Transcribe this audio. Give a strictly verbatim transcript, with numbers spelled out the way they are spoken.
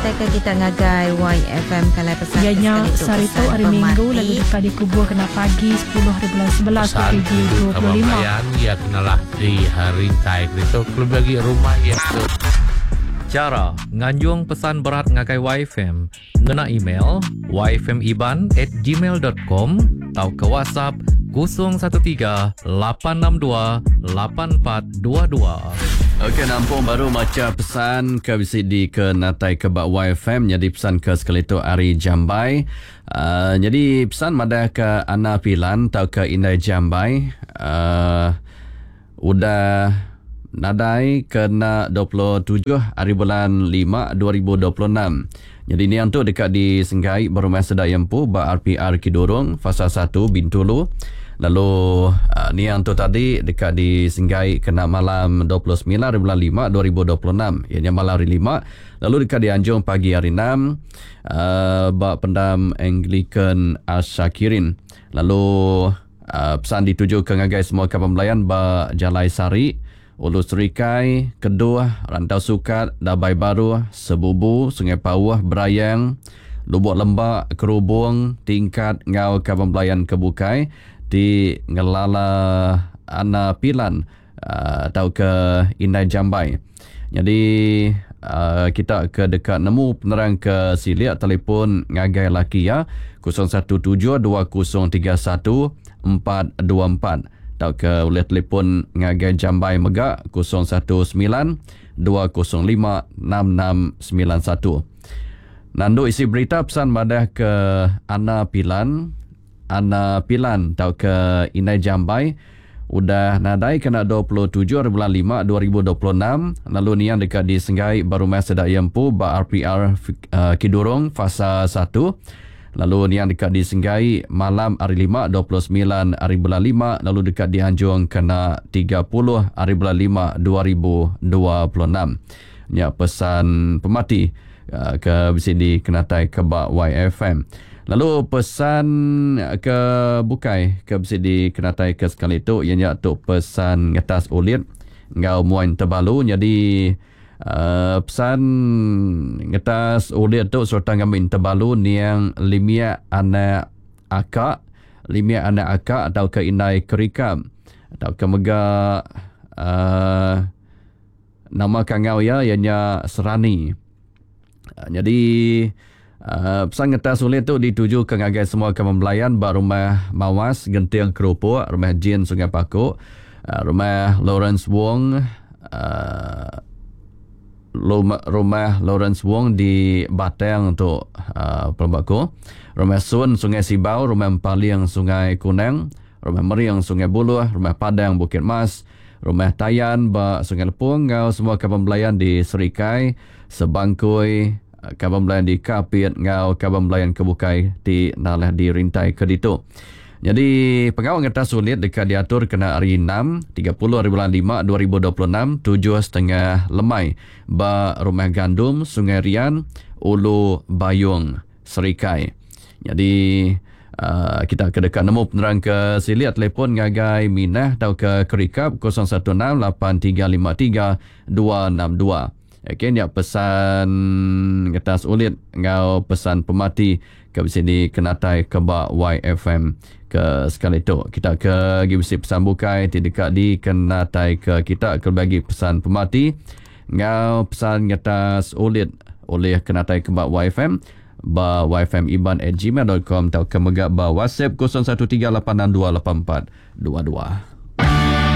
ngenatai ke kita ngagai Y F M kalai pesan Iya nya sekali tu sehari tu pesan hari Minggu pemati. Lalu deka dikubur kena pagi sepuluh hari bulan sebelas Pesan dua ribu itu dua puluh lima. Abang Bayan, ia kenalah di hari tai itu lebih lagi rumah ia tu. Cara nganjung pesan berat ngagai Y F M ngena email y f m iban at gmail dot com atau ke WhatsApp kosong satu tiga lapan enam dua lapan empat dua dua. Okey, nampung baru maca pesan ke bisi di ke natai ke bak Y F M jadi pesan ke sekali tu ari Jambai. Uh, jadi pesan madah ke Ana Pilan atau ke Indai Jambai, uh, udah nadai kena dua puluh tujuh hari bulan lima dua ribu dua puluh enam. Jadi ni yang tu dekat di Senggai Berumah Sedak Yempu ba R P R Kidurong Fasa satu Bintulu. Lalu, uh, ni yang tu tadi dekat di Senggai kena malam dua puluh sembilan hari bulan lima dua ribu dua puluh enam. Ianya malam hari lima. Lalu dekat di Anjung pagi hari enam, uh, ba pendam Anglican Ashakirin. Lalu, uh, pesan dituju ke ngagai semua kaban belayan ba Jalai Sari, Ulu Serikai, Keduh, Rantau Sukat, Dabai Baru, Sebubu, Sungai Pauh, Berayang, Lubuk Lembak, Kerubung, Tingkat ngau kaban belayan kebukai di Ngelala Ana Pilan, uh, atau ke Indai Jambai. Jadi, uh, kita ke dekat nemu penerang ke siliak telefon ngagai laki ya kosong satu tujuh dua kosong tiga satu empat dua empat atau ke boleh telefon ngagai Jambai mega kosong satu sembilan dua kosong lima enam enam sembilan satu. Nandu isi berita pesan madah ke Ana Pilan, Ana Pilan atau ke Indai Jambai udah nadai kena dua puluh tujuh hari bulan lima dua ribu dua puluh enam lalu niang dekat di Senggai Barumah Sedak Yempu ba R P R, uh, Kidurong fasa satu. Lalu niang dekat di Senggai malam hari lima dua puluh sembilan hari bulan lima lalu dekat di Anjung kena tiga puluh hari bulan lima dua ribu dua puluh enam. Nya pesan pemati, uh, ke bisi di Kenatai ke ba Y F M. Lalu pesan ke bukai ke bisi di Kenatai ke sekali tu ianya tu pesan ngetas ulit ngau muan tebalu. Jadi, uh, pesan ngetas ulit tu serta ngamin tebalu niang limia anak akak, limia anak akak atau ke indai kerikam atau ke mega, uh, nama kangau ya ianya Serani. Uh, jadi, uh, pesan ngetas ulit tu dituju ke ngagai semua kawan belayan ba rumah Mawas Genting Kerupuk, rumah Jin Sungai Paku, uh, rumah Lawrence Wong, uh, rumah, rumah Lawrence Wong di Batang tu, uh, Pelbaku, rumah Sun Sungai Sibau, rumah Empaling Sungai Kunang, rumah Meriang Sungai Buluh, rumah Padang Bukit Mas, rumah Tayan ba Sungai Lepung, ngau semua kawan belayan di Serikai, Sebangkui, kawan belayan di Kapit, ngau kawan belayan kebukai di nalah di Rintai ke ditu. Jadi pengawal ngetas sulit dekat diatur kena hari enam, tiga puluh hari bulan lima dua ribu dua puluh enam, tujuh setengah lemai ba Rumah Gandum, Sungai Rian, Ulu Bayung, Serikai. Jadi, uh, kita ke dekat nemu penerang ke siliat telefon ngagai Minah atau ke Kerikap kosong satu enam lapan tiga lima tiga dua enam dua. Okey, ni pesan ngetas ulit ngau pesan pemati ke sini kenatai ke ba Y F M ke sekali tu. Kita ke gi bisi pesan bukai ti dekat di kenatai ke kita ke bagi pesan pemati ngau pesan ngetas ulit oleh kenatai ke ba Y F M ba y f m iban at gmail dot com atau ke mega ba WhatsApp kosong satu tiga lapan enam dua lapan empat dua dua.